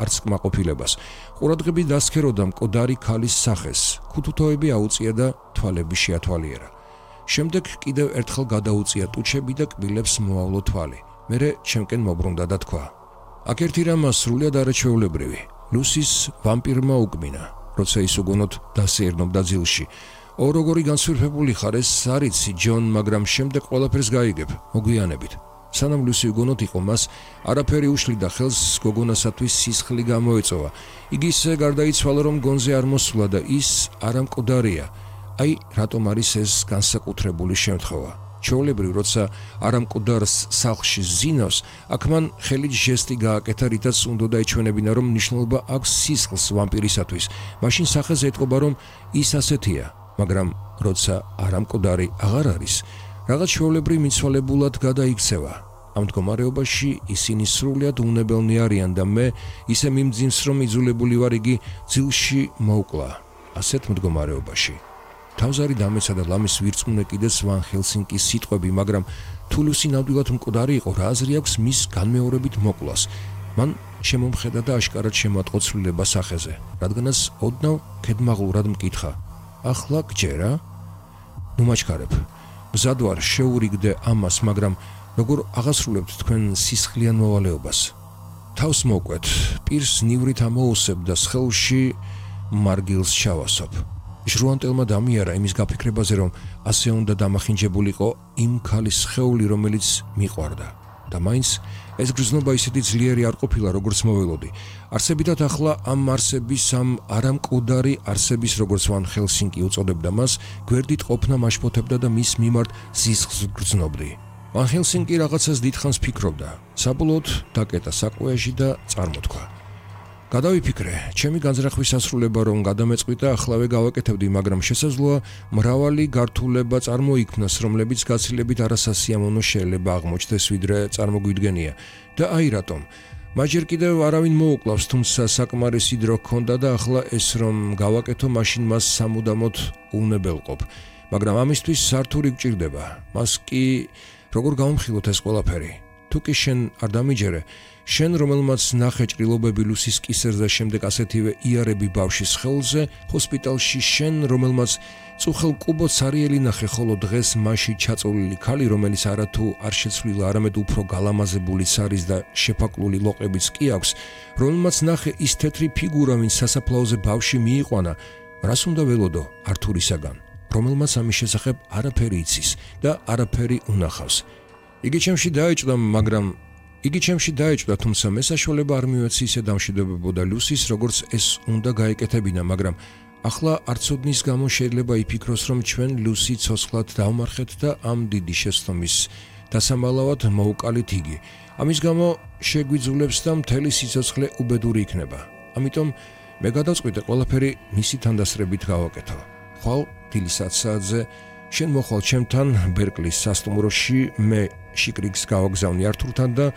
არც კმაყოფილებას. ყურადღები დასქეროდა მკვდარი ქალის სახეს, ქუთუთოები აუწია და თვალები შეათვალიერა. შემდეგ კიდევ ერთხელ გადაუწია ტუჩები და კბილებს მოავლო თვალი. მერე ჩემკენ მობრუნდა და თქვა: აქ ერთი რამ სრულიად არაჩვეულებრივი. ლუსის ვამპირმა უკმინა, როცა ის უგონოდ დასეირნობდა ძილში. ო როგორი განსვირფებული ხარ, ეს არიცი ჯონ, მაგრამ შემდეგ ყველაფერს გაიგებ, მოგვიანებით. სანამ ლუსი უგონოდ იყო, მას არაფერი უშლიდა ხელს, გოგონასათვის სისხლი გამოეწოვა. იგი ისე გარდაიცვალა, რომ გონზე არ მოსულა და ის არა მკვდარია. აი, რატომ არის ეს განსაკუთრებული შემთხვევა. ჩვეულებრივ, როცა არამკვდარს სახლში ზინავს, აქ მან ხელით ჟესტი გააკეთა, რითაც უნდა ეჩვენებინა, რომ მნიშვნელობა აქვს სისხლს ვამპირისათვის. მაშინ სახეზე ეტყობა, რომ ის ასეთია, მაგრამ როცა არამკვდარი აღარ არის, რაღაც ჩვეულებრივ მიცვალებულად გადაიქცევა. ამ მდგომარეობაში ისინი სრულიად უნებელნი არიან და მე ისე მიმძიმს, რომ იძულებული ვარ იგი ძილში მოვკლა. ასეთ მდგომარეობაში თავზარი დამეცა და ლამის ვირწმუნე კიდეც ვან ჰელსინკის სიტყვები, მაგრამ თუ ლუსი ნამდვილად მკვდარი იყო, რა აზრი აქვს მის განმეორებით მოკვლას. მან შემომხედა და აშკარად შემატყო ცვლილება სახეზე, რადგანაც ოდნავ ქედმაღლურად მკითხა: ახლა გჯერა? ნუ მაჩქარებ. მზად ვარ შეურიგდე ამას, მაგრამ როგორ აღასრულებთ თქვენ სისხლიან მოვალეობას? თავს მოკვეთ, პირს ნივრით ამოუსებ და სხეულში მარგილს ჩავასობ. ჟრუანტელმა დამიარა იმის გაფიქრებაზე, რომ ასე უნდა დამახინჯებულიყო იმ ქალის სხეული, რომელიც მიყვარდა. და მაინც ეს გრძნობა ისეთი ძლიერი არ ყოფილა, როგორც მოველოდი. არსებითად ახლა ამ არსების, ამ არამკვდარი არსების, როგორც ვან ჰელსინკი უწოდებდა მას, გვერდით ყოფნა მაშფოთებდა და მის მიმართ სისხლს გრძნობდი. ვან ჰელსინკი რაღაცას დიდხანს ფიქრობდა. საბოლოოდ დაკეტა საკუეჟი და წარმოთქვა: გადავიფიქრე, ჩემი განზრახვის სასრულება რომ გადამეწყვიტა, ახლავე გავაკეთებდი, მაგრამ შესაძლოა მრავალი გართულება წარმოიქმნას, რომლებიც გაცილებით არასასიამოვნო შეიძლება აღმოჩნდეს, ვიდრე წარმოგვიდგენია. და აი რატომ. მაჯერ კიდევ არავინ მოუკლავს, თუმცა საკმარისი დრო ჰქონდა და ახლა ეს რომ გავაკეთო, მაშინ მას სამუდამოდ უნებელყოფ. მაგრამ ამისთვის სართული გჭირდება. მას კი როგორ გავამხილოთ ეს ყველაფერი? თუ კი შენ არ დამიჯერე, შენ რომელმაც ნახე ჭრილობები ლუსის კისერზე, შემდეგ ასეთივე იარები ბავშვის სხეულზე, ჰოსპიტალში შენ რომელმაც წუხელ კუბოც არიელი ნახე, ხოლო დღეს მასში ჩაწოლილი ქალი, რომელიც არათუ არ შეცვლილა, არამედ უფრო გალამაზებულიც არის და შეფაკლული ლოყებიც კი აქვს, რომელმაც ნახე ის თეთრი ფიგურა, ვინც სასაფლაოზე ბავშვი მიიყვანა, რას უნდა ველოდო ართურისაგან, რომელმაც ამის შესახებ არაფერი იცის და არაფერი უნახავს. იგი ჩემში დაეჭვდა, თუმცა მე საშუალება არ მივეცი ისე დამშვიდობებოდა ლუსის, როგორც ეს უნდა გაეკეთებინა, მაგრამ ახლა არცოდნის გამო შეიძლება იფიქროს, რომ ჩვენ ლუსი ცოცხლად დავმარხეთ და ამ დიდი შეცდომის დასამალავად მოუკალით იგი. ამის გამო შეგვიძულებს და მთელი სიცოცხლე უბედური იქნება. ამიტომ მე გადავწყვიტე ყველაფერი მისი თანდასწრებით გავაკეთო. ხვალ დილის 10 საათზე შენ მოხვალ ჩემთან ბერკლის სასტუმროში, მე შიკრიგს გავაგზავნი ართურთან და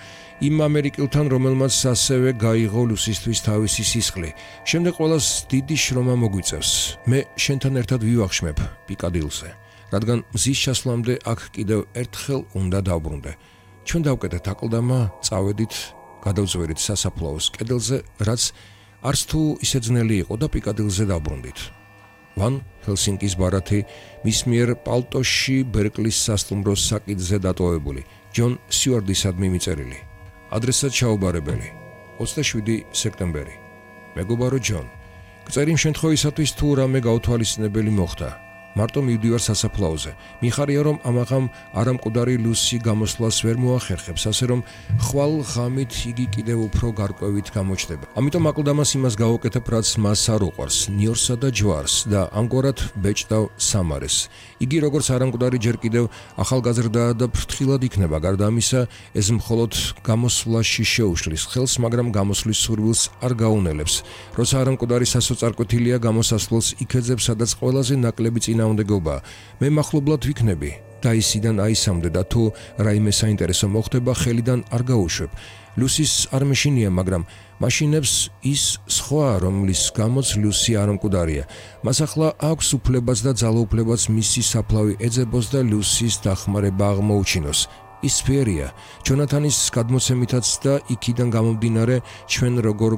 იმ ამერიკელთან, რომელმაც ასევე გაიღო ლუსისთვის თავისი სისხლი. შემდეგ ყველას დიდი შრომა მოგვიწევს. მე შენთან ერთად ვივახშმებ პიკადილზე, რადგან მზის ჩასვლამდე აქ კიდევ ერთხელ უნდა დავბრუნდე. ჩვენ დავკეტეთ აკლდამა, წავედით, გადავწვერით სასაფლაოს კედელზე, რაც არც თუ ისე ძნელი იყო და პიკადილზე დავბრუნდით. ვან ჰელსინკის ბარათი მის მიერ პალტოში ბერკლის სასტუმროს საკითხზე დატოვებული, ჯონ სიუარდისადმი მიწერილი. ადრესად ჩაუბარებელი, 27 სექტემბერი. მეგობარო ჯონ, გწერი იმ შემთხვევისათვის, თუ რამე გაუთვალისწინებელი მოხდა. მარტო მივდივარ სასაფლაოზე. მიხარია, რომ ამაღამ არამკვდარი ლუსი გამოსვლას ვერ მოახერხებს, ასე რომ ხვალ ღამით იგი კიდევ უფრო გარკვევით გამოჩნდება. ამიტომ აკლდამას იმას გავაკეთებ, რაც მას არ უყვარს, ნიორსა და ჯვარს და ამგვარად ბეჭდავ სამარეს. იგი როგორც არამკვდარი ჯერ კიდევ ახალგაზრდაა და ფრთხილად იქნება, გარდა ამისა, ეს მხოლოდ გამოსვლაში შეუშლის ხელს, მაგრამ გამოსვლის სურვილს არ გაუნელებს. როცა არამკვდარი სასოწარკვეთილია, გამოსასვლელს იქეძებს, სადაც ყველაზე ნაკლები წინააღმდეგობა. მე მახლობლად ვიქნები და ისიდან აისამდე და თუ რაიმე საინტერესო მოხდება, ხელიდან არ გაუშვებ. ლუსის არ მეშინია, მაგრამ მაშინებს ის სხვა, რომლის გამოც ლუსი არამკვდარია. მას ახლა აქვს უფლებაც და ძალაუფლებაც მისი საფლავი ეძებოს და ლუსის დახმარება აღმოუჩინოს. ის ფერია, ჯონათანის გადმოცემითაც და იქიდან გამომდინარე, ჩვენ როგორ